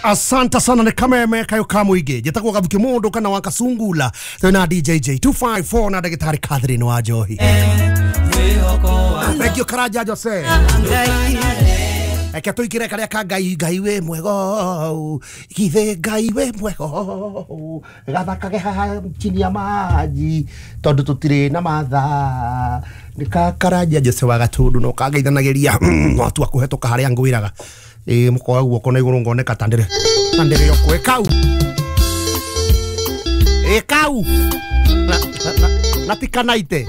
Asante sana nĩ kameme kayo ka mũingĩ. Njĩtagwo Gathuki mũndũ kana wa Kasungula twĩna DJJ 254 na ndagĩtarĩ Catherine wa Njohi. Thank you Karanja Jose. Reke tũingĩre karĩa ka Ngai. Ngai wĩ mwega, githĩ Ngai wĩ mwega, gathakage haha chini ya maji tondũ tũtirĩ na mathaa. Nĩ ka Karanja Jose wa Gatundu no kangeithanagĩria watua kũhetũka harĩa ngwĩraga. Ĩ mũkoya guoko na igũrũ ngoneka ta ndĩrĩ ta ndĩrĩ o kwĩ kau ĩ kau na ti kanaite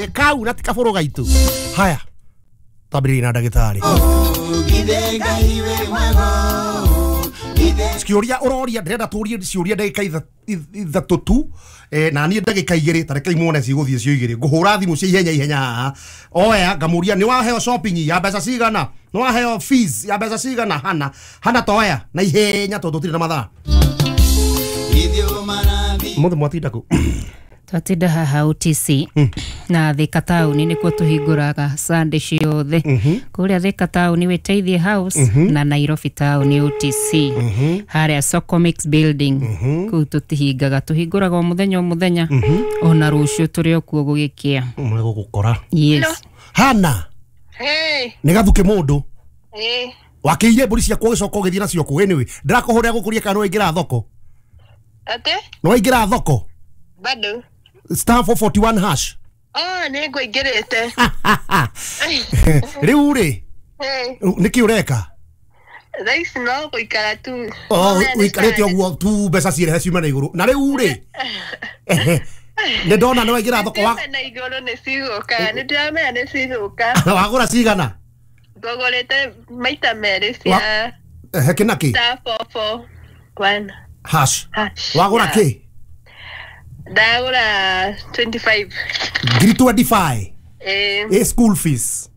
ĩ kau na ti kabũrũ gaitũ. Haya, twambĩrĩrie na ndagĩtarĩ. Ciũria ũroria, ndĩrenda tũrie ciũria ndagĩka ithatũ tu, na niĩ ndagĩka igĩrĩ, ta rekei muone cigũthiĩ cio igĩrĩ. Ngũhũra thimũ cia ihenya ihenya haha. Oya ngamũria nĩ waheo shopping ya mbeca cigana, nĩ waheo fees ya mbeca cigana. Hana hana toya na ihenya tondũ tũtirĩ na mathaa. Mũthĩ mwatinda kũ? Twatinda haha OTC na Thika taũni nĩkuo tũhingũraga Sunday ciothe. Kũrĩa Thika taũni Wĩteithie House na Nairobi taũni OTC harĩa Socomix building. Kũu tũtihingaga, tũhingũraga o mũthenya o mũthenya, ona rũciũ tũrĩ o kuo gũgĩkĩa. Mũgũgũkora. Yes. Hana. Hey. Nĩ Gathuki mũndũ. Hey. Wakĩire mbũri ciakwa ũgĩcoka ũgĩthiĩ nacio kũ? Anyway, ndĩrakũhũrĩra gũkũria kana nĩwaingĩra thoko? Atĩ? Nĩwaingĩra thoko? Bado. Star 441 hash. Oh, nĩ ngũingĩrĩte. Rĩu rĩ, nĩkĩ ũreka? Thaa ici no gũikara tu. Oh, ũikarĩte ũguo tu mbeca cirehe ciume na igũrũ. Na rĩu rĩ, nĩ ndona nĩ waingĩra thoko wa na igũrũ nĩ cigũka, nĩ ndĩramenya nĩ cigũka. Wagũra cigana? Ngũgũrĩte maita merĩ cia kĩ na kĩ? Star 441 hash. Hash. Wagũra kĩ? Ndagũra 25. Ngiri 25. Eh. Ĩ school fees.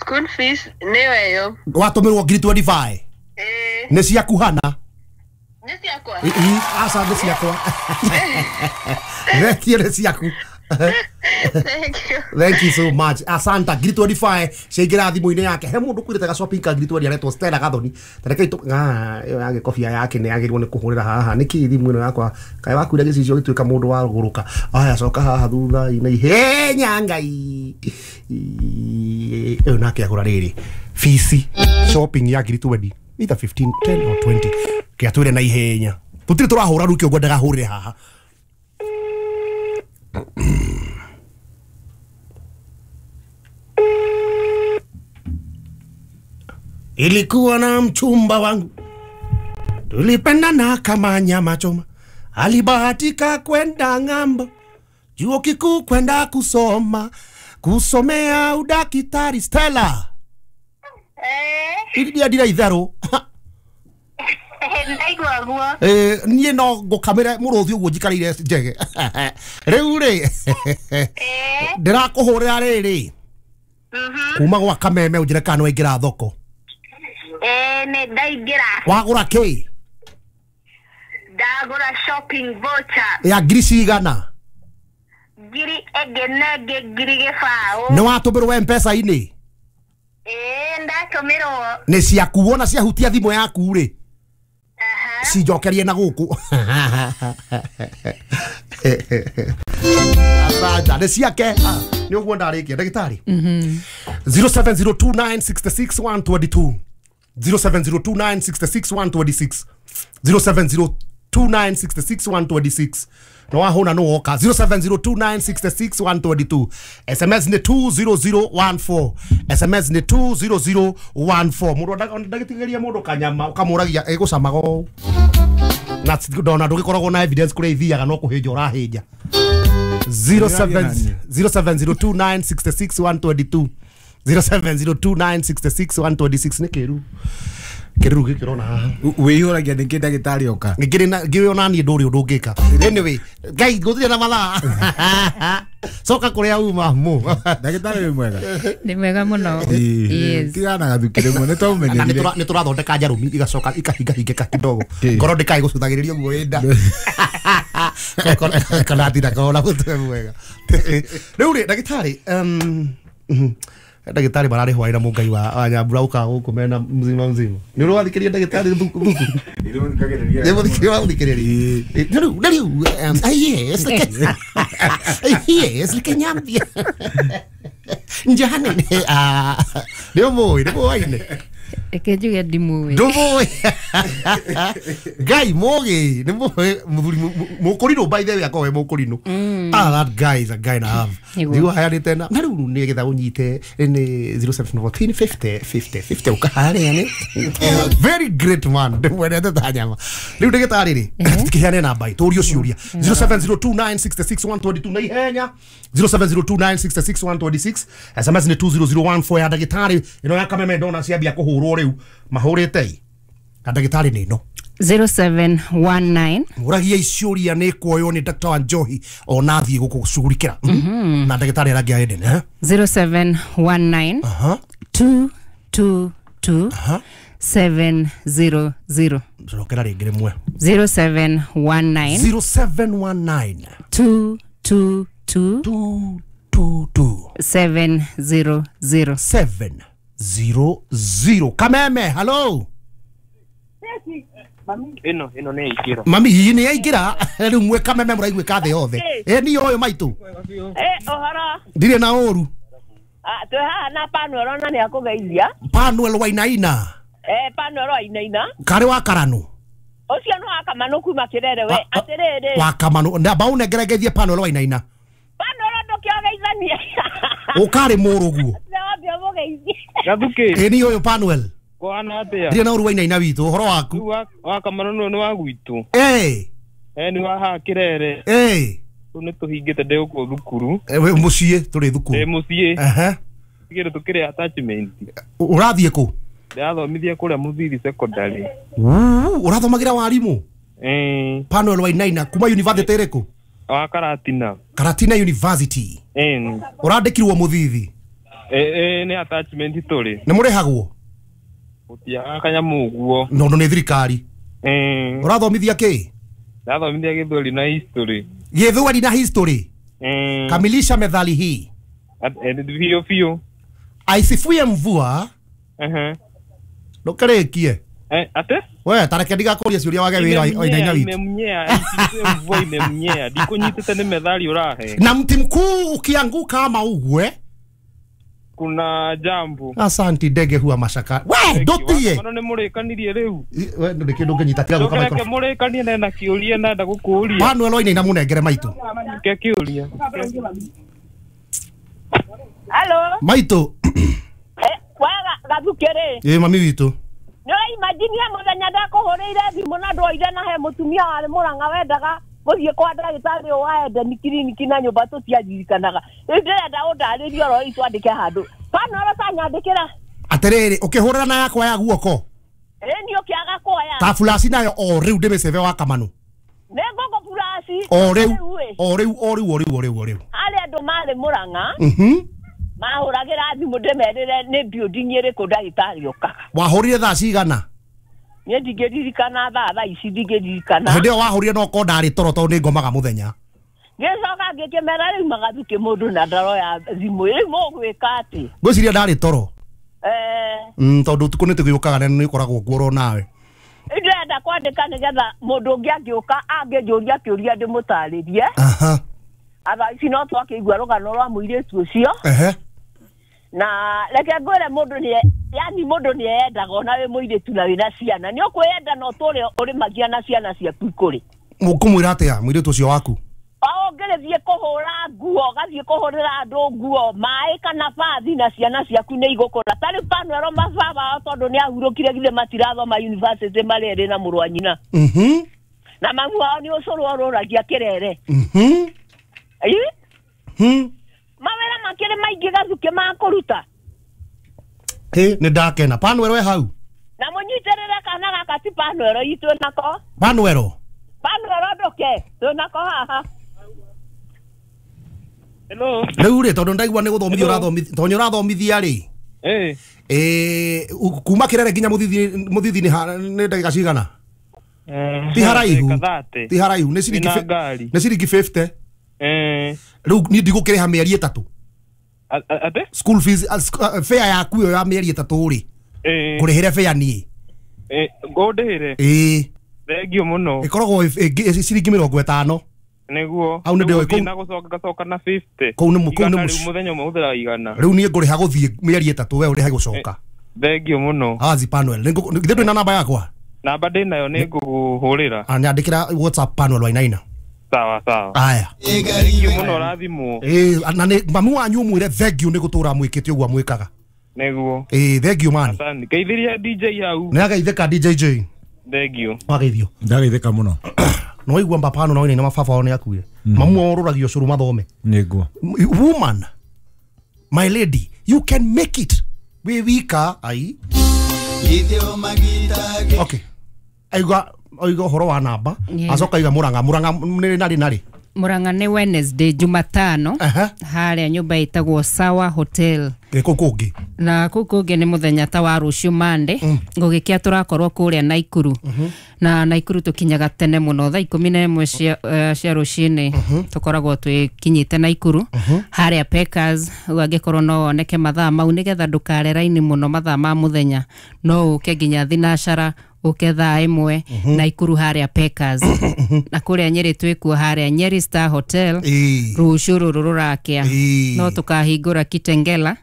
School fees nĩyo ĩyo. Watũmĩrwo ngiri 25. Eh. Nĩ ciaku Hana? Nĩ ciakwa. Aca nĩ ciakwa. Thank you, nĩ ciaku. Thank you. Thank you so much. Asanta ngiri 25 ciaingĩra thimũ-inĩ yake. He mũndũ kwĩrĩte ga shopping ka ngiri 20 aretwo Stella Gathoni. Ta reke ĩyo ya gĩkobia yake nĩ yagĩrĩirwo nĩ kũhũrĩra haha. Nĩkĩ thimũ ĩno yakwa kaĩ wakuire gĩcicio gĩtuĩka mũndũ wa gũrũka. Aya coka haha thutha-inĩ ihenya Ngai. Ĩyo nake agũra rĩrĩ fees shopping ya ngiri 20 either 15 10 or 20 kĩatwĩre na ihenya. Tũtirĩ tũrahũra rĩu kĩo ngwendaga hũrĩre haha. Ilikuwa na mchumba wangu, tulipendana kama nyama choma, alibahatika kwenda ng'ambo, chuo kikuu kwenda kusoma, kusomea udakitari. Stella. Eh. Iria ndira itherũ. Ndaigua guo. Niĩ no ngũkamĩre mũrũthi ũguo njikarĩire njege. Rĩu rĩ, ndĩrakũhũrĩra rĩrĩ kuma gwa kameme ũnjĩre kana nĩwaingĩra thoko. Nĩ ndaingĩra. Wagũra kĩ? Ndagũra shopping voucher. Ya ngiri cigana? Ngiri ĩngĩ na ĩngĩ ngiri gĩbaũ. Nĩ watũmĩrwo M-Pesa-inĩ? Ndatũmĩrwo. Nĩ ciaku wona ciahutia thimũ yaku rĩ, cinjokerie na gũkũ. Asante, nĩ ciake. Nĩ ũguo ndarĩkia ndagĩtarĩ. 0702966122 0702966126 0702966126 no wahũna no woka 0702966122 SMS nĩ 20014 SMS nĩ 20014. Mũndũ ndagĩtigĩria mũndũ kanyama ũkamũragia ĩgũcamaga ũũ na ndona ndũgĩkoragwo na evidence kũrĩa ithiaga no kũhĩnja ũrahĩnja. 0702966122 0702966126 nĩ kĩru kĩruru gĩkĩ ũrona haha. Wĩihũragia nĩkĩ ndagĩtarĩ oka? Ngĩrĩ ona niĩ ndũrĩ ũndũ ũngĩka. Anyway, Ngai gũtirĩ na mathaa. Coka kũrĩa uma mũ. Ndagĩtarĩ wĩ mwega? Nĩ mwega mũno. Yes. Tigana na Gathuki rĩmwe nĩ twaũmenyerire. Nĩ tũrathondeka njarũmi igacoka ikahingahingĩka kidogo. Ngoro ndĩkae gũcũthagĩrĩria ũguo wĩ nda. Kana atinda kona mũtwe mwega. Rĩu rĩ ndagĩtarĩ, Ndagĩtarĩ mararĩ hwaĩ na mũngai wa Nyambura ũkaga gũkũ mena mzima mzima. Nĩ ũrathikĩrĩria ndagĩtarĩ thuku thuku. Nĩ mũthikĩrĩria. Rĩu yes yes reke nyambie. Njane nĩ ũmũĩ nĩ mũwaine. Reke njuge ndimũĩ. Ndũmũĩ. Ngai mũgĩ nĩ mũĩ mũthuri mũkũrinũ by the way akorwo we mũkũrinũ. Ah, that guy is a guy and a half. Nĩguo hayanĩte na rĩu nĩgetha ũnyite nĩ 0714 50 50 50 ũkaharĩa nĩ very great man ndĩmwendete ta nyama. Rĩu ndagĩtarĩ rĩ tũkĩheane namba tũrio ciũria 0702966122 na ihenya 0702966126 SMS nĩ 20014 ya ndagĩtarĩ ĩno ya Kameme ndona ciambia kũhũrwo rĩu mahũrĩte na ndagĩtarĩ nĩ ĩno 0719 mũragia ciũria nĩ kuoywo nĩ Dr. Wanjohi ona athiĩ gũkũcugurikĩra na ndagĩtarĩ arangia Eden 0719 222 700. Cokera rĩngĩ rĩmwe 0719 0719 222 222 700 700. Kameme, hello. Ino nĩ yaingĩra. Mami hihi nĩ yaingĩra rĩu mwe Kameme mũraiguĩka thĩ yothe. Ĩ niĩ ũyũ maitũ. Ũhoro. Ndirĩ na ũru. Twĩ haha na Panuel ona nĩ akũgeithia. Panuel Wainaina. Panuel Wainaina. Karĩ wa Karanũ. Ũcio nĩ wa Kamanũ kuma Kĩrere we atĩrĩrĩ. Wa Kamanũ ndamba ũnengere ngeithie Panuel Wainaina. Panuel ndũkĩogeithanie. Ũkarĩ mũrũguo. Gathuki. Ĩ niĩ ũyũ Panuel. Kwana atia. Ndirĩ na ũru Wainaina witũ ũhoro waku. Wa Kamanũ nĩ wa gwitũ. Nĩ wa haha Kĩrere. Rĩu nĩ tũhingĩte ndĩ gũkũ thukuru. We mũciĩ tũrĩ thukuru. Ndĩ mũciĩ. Tigĩrĩ tũkĩrĩ attachment. Ũrathiĩ kũ? Ndĩrathomithia kũrĩa Mũthiri secondary. Ũrathomagĩra warimũ? Panuel Wainaina kuma university ĩrĩkũ? Wa Karatina. Karatina University. Ũrandĩkirwo Mũthithi? Nĩ attachment tũrĩ. Nĩ mũrĩhagwo? Gũtiaga kanyamũ ũguo. Nondũ nĩ thirikari. Ũrathomithia kĩ? Ndathomithia Gĩthweri na history. Gĩthweri na history. Kamilisha methali hii. Biũ biũ. Aisifuye mvua. Ndũkarĩkie. Ate? We tareke ndigakũrie ciũria wage wĩra Wainaina witũ. Imemnyea, aisifuye mvua imemnyea. Ndikũnyitĩte nĩ methali ũrahe. Na mti mkuu ukianguka ama ugwe kuna jambo. Asanti ndege huwa mashaka. We ndutie. Mano nĩ mũrĩkanirie rĩu. We ndũrĩ kĩndũ ngĩnyita tiga gũka microphone. Mũrĩkanie na na kĩũria na nda gũkũũria. Panuel Wainaina mũnengere maitũ. Ke kĩũria. Hello. Maitũ. Waga Gathuki rĩ. Ĩ mami witũ. Nĩ ũraimagine mũthenya ndakũhũrĩire thimũ na ndwoire na he mũtumia warĩ Mũrang'a wendaga gũthiĩ kwa ndagĩtarĩ wa Eden kiriniki na nyũmba tũtiaririkanaga. Rĩu ndĩrenda ũndarĩrie ũhoro ũyũ twandĩke handũ. Panuel tanyandĩkĩra. Atĩrĩrĩ ũkĩhũrĩra na yakwa ya guoko. Ĩ niĩ ũkĩaga kuoya. Ta flash nayo o rĩu ndĩmĩcebe wa Kamanũ. Nĩ ngũkũ flash. O rĩu o rĩu o rĩu o rĩu o rĩu o rĩu. Harĩ andũ marĩ Mũrang'a. Mahũragĩra thimũ ndĩmerĩre nĩ building ĩrĩkũ ndagĩtarĩ okaga. Wahũrire thaa cigana? Niĩ ndingĩririkana thaa ici ndingĩririkana. Hĩndĩ ĩyo wahũrire no korwo ndarĩ toro tondũ nĩ ngomaga mũthenya. Ngĩcoka ngĩkĩmera rĩu Magathuki mũndũ na ndaroya thimũ rĩu mũgwĩka atĩ. Ngwĩciria ndarĩ toro. Tondũ ũtukũ nĩ tũgĩũkaga na nĩ ũkoragwo kuo oro nawe. Ndĩrenda kwandĩka nĩgetha mũndũ ũngĩ angĩũka angĩnjũria kĩũria ndĩmũtarĩrie. Thaa ici no twakĩigua rũgano rwa mũirĩtu ũcio. Na reke ngwĩre mũndũ nĩ yani mũndũ nĩ eyendaga ona wĩ mũirĩtu na wĩna ciana nĩ ũkwĩyenda na ũtũre ũrĩmagia na ciana ciaku ikũrĩ. Ũkũmwĩra atĩa mũirĩtu ũcio waku? O ũngĩrĩthiĩ kũhũra nguo ũgathiĩ kũhũrĩra andũ nguo maĩ kana bathi na ciana ciaku nĩ igũkũra. Ta rĩu Panuel mababa wao tondũ nĩ ahurũkire githĩ matirathoma university marĩ erĩ na mũrũ wa nyina. Na mamu wao nĩ ũcũrũ orũragia Kĩrere. Mawĩra makĩrĩ maingĩ Gathuki ma kũruta. Nĩ ndakena. Panuel we hau. Na mũnyitĩrĩre kana gaka ti Panuel itũ nako. Panuel. Panuel ndũke twĩ nako haha. Hello. Rĩu rĩ tondũ ndaigua nĩ gũthomithia ũrathomithia tondũ ũrathomithia rĩ. Kuma Kĩrere nginya Mũthithi nĩ ndagĩka cigana? Ti haraihu. Ti haraihu nĩ ciringi 50. Rĩu niĩ ndigũkĩrĩha mĩeri ĩtatũ. Ate? School fees fare yaku ĩyo ya mĩeri 3 rĩ. Ngũrĩhĩre fare niĩ. Ngũndĩhĩre? Thengio mũno. Ĩkoragwo ciringi 50. Nĩguo. Hau nĩ ndĩoĩ kũu. Na gũcoka ngacoka na 50. Kũu nĩ kũu nĩ mũthenya ũmwe hũthĩraga 100. Rĩu niĩ ngũrĩha gũthiĩ mĩeri 3 we ũrĩhe gũcoka. Thengio mũno. Azi Panuel. Githĩ ndwĩ na namba yakwa? Namba ndĩ nayo nĩ ngũkũhũrĩra. Nyandĩkĩra WhatsApp Panuel Wainaina. Sawa sawa. Aya. Thengio mũno ũrathimwo. Na nĩ mamu wanyu ũmwĩre thengio nĩ gũtũra mwĩkĩte ũguo mwĩkaga. Nĩguo. Thengio mani. Asante. Geithĩria DJ hau. Nĩ ageithĩka DJJ. Thengio. Wageithio. Ndageithĩka mũno. No waigua mbapano na Wainaina mababa wao nĩ akuire. Mamu orũragio ũcũrũ mathome. Nĩguo. Woman, my lady, you can make it. Wĩ wika ai. Okay. Aiga ũhoro wa namba. Acoka aiga Murang'a. Murang'a nĩ narĩ narĩ. Murang'a nĩ Wednesday Jumatano. Harĩa nyũmba ĩtagwo Sawa Hotel. Kũu kũngĩ. Na kũu kũngĩ nĩ mũthenya ta wa rũciũ Monday. Gũgĩkĩa tũrakorwo kũrĩa Naikuru. Na Naikuru tũkinyaga tene mũno thaa 11 cia rũcinĩ. Tũkoragwo twĩkinyĩte Naikuru. Harĩa Packers, rĩu angĩkorwo no woneke mathaa mau nĩgetha ndũkare raini mũno mathaa ma mũthenya. No ũke nginya thinacara ũke thaa 1 Naikuru harĩa Packers. Na kũrĩa Nyeri twĩkuo harĩa Nyeri Star Hotel. Rũciũ rũrũ rũrakĩa. No tũkahingũra Kitengela.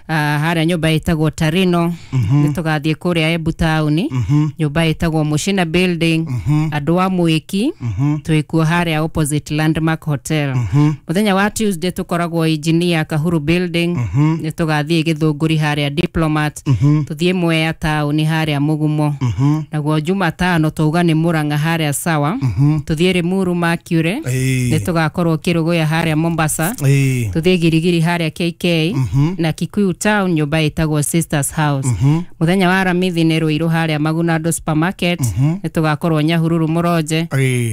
Harĩa nyũmba ĩtagwo Tarino. Nĩ tũgathiĩ kũrĩa Embu taũni. Nyũmba ĩtagwo Mushina Building. Andũ a Mwĩki twĩkuo harĩa opposite Landmark Hotel. Mũthenya wa Tuesday tũkoragwo Engineer Kahuru Building. Nĩ tũgathiĩ Gĩthũngũri harĩa Diplomat. Tũthiĩ Mwea taũni harĩa Mũgumo. Naguo Jumatano twauga nĩ Murang'a harĩa Sawa. Tũthiĩ Limuru Mercury. Nĩ tũgakorwo Kĩrũgũya harĩa Mombasa. Tũthiĩ Girigiri harĩa KK. Na Kikuyu Town nyũmba ĩtagwo Sisters House. Mũthenya wa Aramithi nĩ Ruiru harĩa Magunado Supermarket. Nĩ tũgakorwo Nyahururu Mũronje.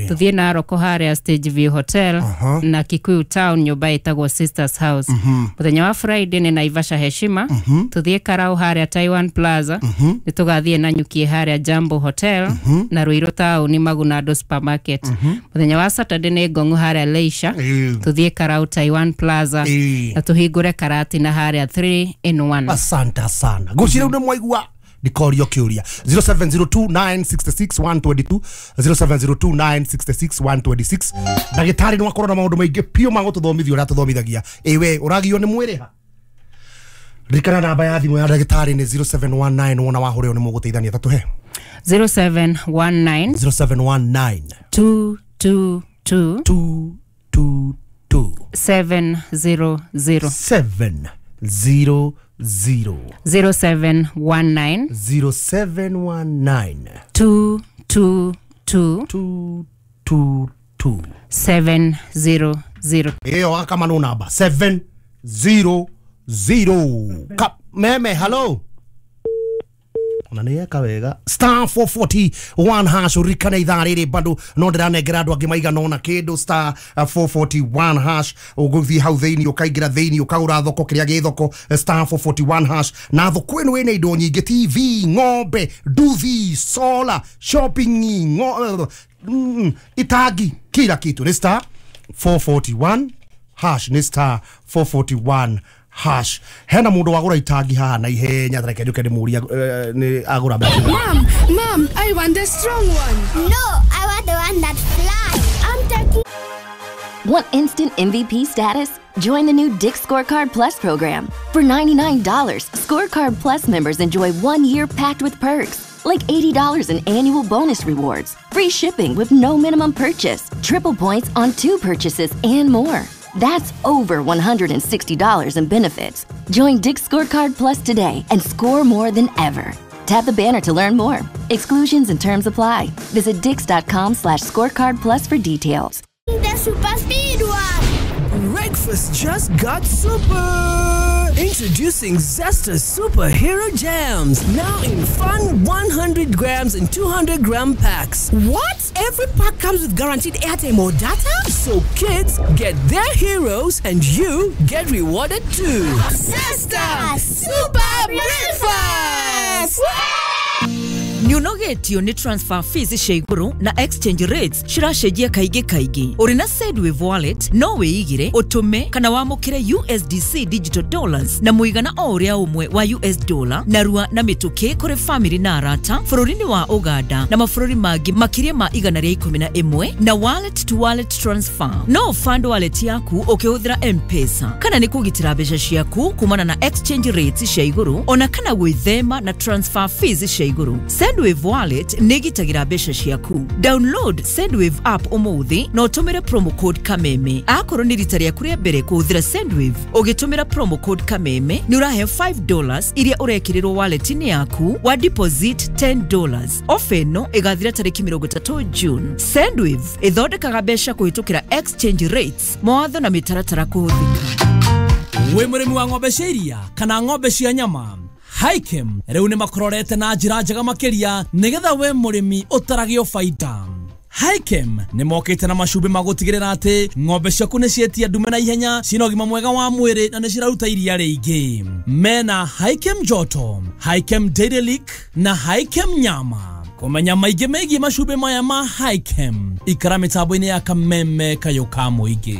Tũthiĩ Naroko harĩa Stage View Hotel. Na Kikuyu Town nyũmba ĩtagwo Sisters House. Mũthenya wa Friday nĩ Naivasha Heshima. Tũthiĩ Karau harĩa Taiwan Plaza. Nĩ tũgathiĩ Nanyuki harĩa Jambo Hotel. Na Ruiru Town Magunado Supermarket. Mũthenya wa Saturday nĩ Ngong'u harĩa Leisure. Tũthiĩ Karau Taiwan Plaza. Na tũhingũre Karatina harĩa 3 in 1. Asante sana. Ngũcira nĩ mwaigua ndikorio kĩũria 0702966122 0702966126. Ndagĩtarĩ nĩ wakorwo na maũndũ maingĩ piũ ma gũtũthomithia ũrĩa tũthomithagia. Ĩwe ũragio nĩ mwĩrĩ ha? Ririkana namba ya thimũ ya ndagĩtarĩ nĩ 0719 wona wahũrĩrwo nĩ mũgũteithania tatũhe. 0719 0719 222 222 700 700 0719 0719 222 222 700. Iyo kama no namba 700. Meme hello. Ona nĩ eka wega. Star 441 hash urikane ithaa rĩrĩ bado no ndĩranengera andũ angĩ maigana ũna kĩndũ. Star 441 hash ũgũthiĩ hau thĩinĩ ũkaingĩra thĩinĩ ũkagũra thoko kĩrĩa gĩ thoko. Star 441 hash na thoko ĩno ĩna indo nyingĩ, TV, ng'ombe, nduthi, solar, shopping, itangi, kila kitu. Nĩ star 441 hash, nĩ star 441 hash. Hena mundu wagura itangi haha na ihenya thareke njuke ndimuria ni agura mbeca. Mom, mom, I want the strong one. No, I want the one that flies. I'm taking. Want instant MVP status? Join the new Dick's Scorecard Plus program. For $99, Scorecard Plus members enjoy 1 year packed with perks, like $80 in annual bonus rewards, free shipping with no minimum purchase, triple points on 2 purchases, and more. That's over $160 in benefits. Join Dick's Scorecard Plus today and score more than ever. Tap the banner to learn more. Exclusions and terms apply. Visit dicks.com/scorecard plus for details. The super speed one. Breakfast just got super. Introducing Zesta Superhero Jams, now in fun 100 grams and 200 gram packs. What? Every pack comes with guaranteed airtime or data? So kids get their heroes and you get rewarded too. Zesta Super Breakfast! Nĩ Nĩ ũnogetio nĩ transfer fees cia igũrũ na exchange rates ciracenjia kaingĩ kaingĩ. Ũrĩ na Sendwave wallet no wĩigĩre, ũtũme kana wamũkĩre USDC digital dollars na mũigana o ũrĩa ũmwe wa US dollar narua na mĩtũkĩ kũrĩ family na arata bũrũri-inĩ wa Uganda na mabũrũri mangĩ makĩria ma 111 na wallet to wallet transfer. No fund wallet yaku ũkĩhũthĩra M-Pesa kana nĩ kũgitĩra mbeca ciaku kumana na exchange rates cia igũrũ ona kana gwĩthema na transfer fees cia igũrũ. Sendwave wallet nĩ ĩgitagĩra mbeca ciaku. Download Sendwave app ũmũthĩ na ũtũmĩre promo code Kameme. Akorwo nĩ rita rĩaku rĩa mbere kũhũthĩra Sendwave ũgĩtũmĩra promo code Kameme nĩ ũraheo $5 iria ũrekĩrĩrwo wallet-inĩ yaku wa deposit $10. Ofa ĩno ĩgathira tarĩki 30 June. Sendwave ĩthondekaga mbeca kũhĩtũkĩra exchange rates, mawatho na mĩtaratara kũhũthĩka. Wĩ mũrĩmi wa ng'ombe cia iria kana ng'ombe cia nyama, Hikem rĩu nĩ makororete na njĩra njega makĩria nĩgetha we mũrĩmi ũtaragio baita. Hikem nĩ mokĩte na macumbĩ ma gũtigĩrĩra atĩ ng'ombe ciaku nĩ cietia ndume na ihenya, cina ũgima mwega wa mwĩrĩ na nĩ ciraruta iria rĩingĩ. Mena Hikem Joto, Hikem Dairy Lick na Hikem Nyama. Kũmenya maingĩ megiĩ macumbĩ maya ma Hikem, ikara mĩtambo-inĩ ya Kameme kayũ ka mũingĩ.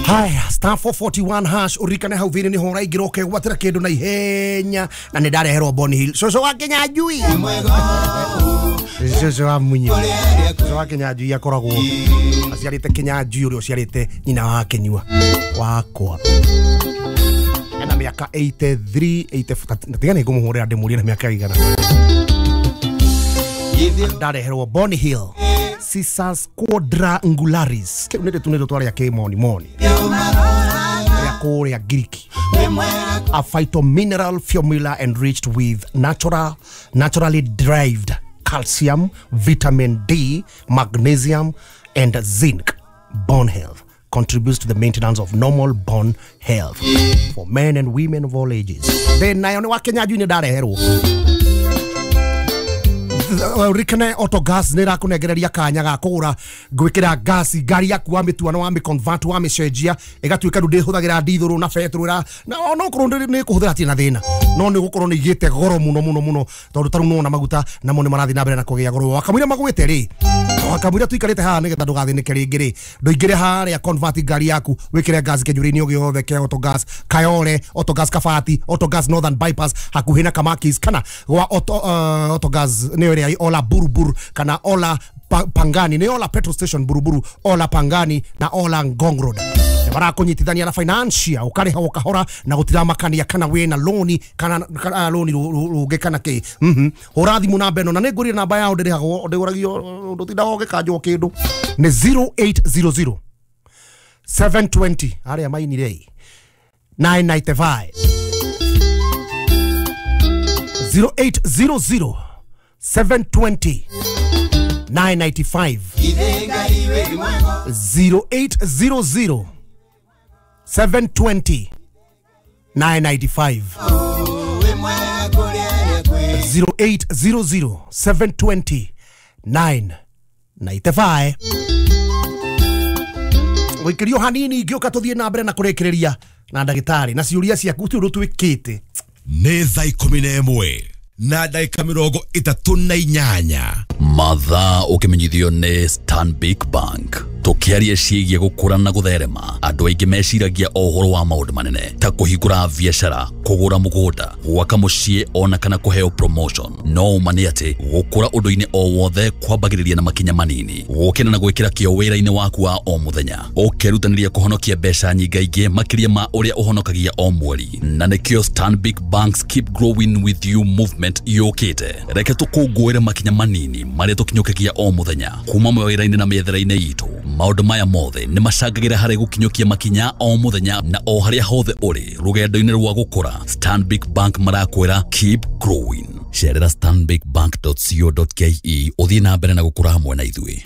Haya, star 441 hash urikane hau thini ni hora ingĩ roke gwatĩra kĩndũ na ihenya na nĩ ndareherwo Bonny Hill. Cũcũ wa Kĩnyanjui, cũcũ wa Munyi, cũcũ wa Kĩnyanjui akoragwo aciarĩte Kĩnyanjui ũrĩa ũciarĩte nyina wa Kĩnyua wakwa. Ena mĩaka 83 84, na tiga nĩ ngũmũhũrĩra ndĩmũrie na mĩaka igana. Ndareherwo Bonny Hill Cissus quadrangularis. Kĩu nĩ tũnĩtũ twarĩa kĩmoni moni ya kũrĩa Giriki. A phytomineral formula enriched with naturally derived calcium, vitamin D, magnesium and zinc. Bone health contributes to the maintenance of normal bone health for men and women of all ages. Then nayo nĩ wa Kĩnyanjui nĩ ndareherwo. Rikane autogas nä rakånengereria kanya ga kå gå ra gwä kä ra ngasi ngari yaku wa mä tuano wa mä convert wa mä cenjia ä ka rä u ndä hå thagä ra ndithå na betå na onokorwo nä kå hå thä ra tirä na thä na no nä gå korwo nä igä te goro må no må no må no tondå tarä u nona maguta namo nä marathiä na mbere na kå gä a goro wakamwira magwä te rä wakamwira tuikarä te haha nä getha ndå gathä nä ke rä ngä rä ndå ingä re harä convert ngari yaku wä kä re ngasi kä nyå rä-inä o gä othe kä autogas Kayole, autogas Kabati, autogas Northern Bypass hakuhä na Kamakis kana gwa autogas nä ä Ola Buruburu kana Ola Pangani, nä Ola petrol station Buruburu, Ola Pangani na Ola Ngong Road. Marakũnyitithania na financial ũkarĩha o kahora na gũtiramakania kana wĩna loni kana loni rũngĩ kana kĩ. Hũra thimũ namba ĩno na nĩ ngũrire namba yao ndĩrĩhagwo ndĩgũragio ndũtindaga ũgĩkanjwo kĩndũ. Nĩ 0800 720 arĩa mainire 995 0800 720 995 0800 720 995 0800 720 995. Gũikĩrio hanini ngĩũka tũthiĩ na mbere na kũrĩkĩrĩria na ndagĩtarĩ na ciũria ciaku ti ũndũ twĩkĩte. Nĩ thaa 11 na ndagĩka 38. Mathaa ũkĩmenyithio nĩ Stanbic Bank. Tũkĩaria ciĩgiĩ gũkũra na gũtherema, andũ aingĩ meciragia o ũhoro wa maũndũ manene ta kũhingũra biacara, kũgũra mũgũnda, gwaka mũciĩ ona kana kũheo promotion. No ũma nĩ atĩ gũkũra ũndũ-inĩ o wothe kwambagĩrĩria na makinya manini, gũkĩra na gwĩkĩra kĩo wĩra-inĩ waku wa o mũthenya, ũkerutanĩria kũhonokia mbeca nyingaingĩ makĩria ma ũrĩa ũhonokagia o mweri. Na nĩkĩo Stanbic Bank's Keep Growing With You movement yũkĩte. Reke tũkũngũĩre makinya manini marĩa tũkinyũkagia o mũthenya kuma mawĩra-inĩ na mĩethere-inĩ itũ. Maũndũ maya mothe nĩ macangagĩra harĩ gũkinyũkia makinya o mũthenya na o harĩa hothe ũrĩ rũgendo-inĩ rwa gũkũra. Stanbic Bank marakwĩra keep growing. Cerera stanbicbank.co.ke ũthiĩ na mbere na gũkũra hamwe na ithuĩ.